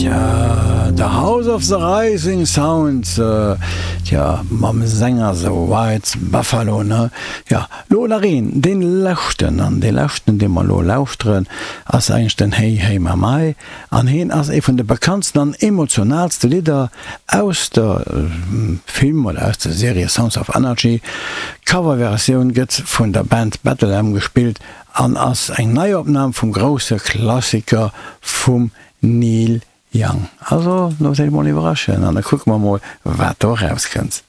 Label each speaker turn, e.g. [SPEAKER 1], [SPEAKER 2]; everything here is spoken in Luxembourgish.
[SPEAKER 1] Tja, The House of the Rising Sound, tja, mam Sänger The White Buffalo, ne? Jo, lo nach een, dee leschten, an dee leschten, dee mer lo lauschteren, ass eigentlech den Hey Hey My My, an heen ass ee vun de bekanntsten an emotionaalste Lidder aus der Film oder aus der Serie Sons of Anarchy. D'Coverversioun gëtt vun der Band Battle-M gespillt an ass eng Neiopnam vum grousse Klassiker vum Neil Young. Also looss iech mol iwwerraschen an da kucke mer mol wat do erauskënnt.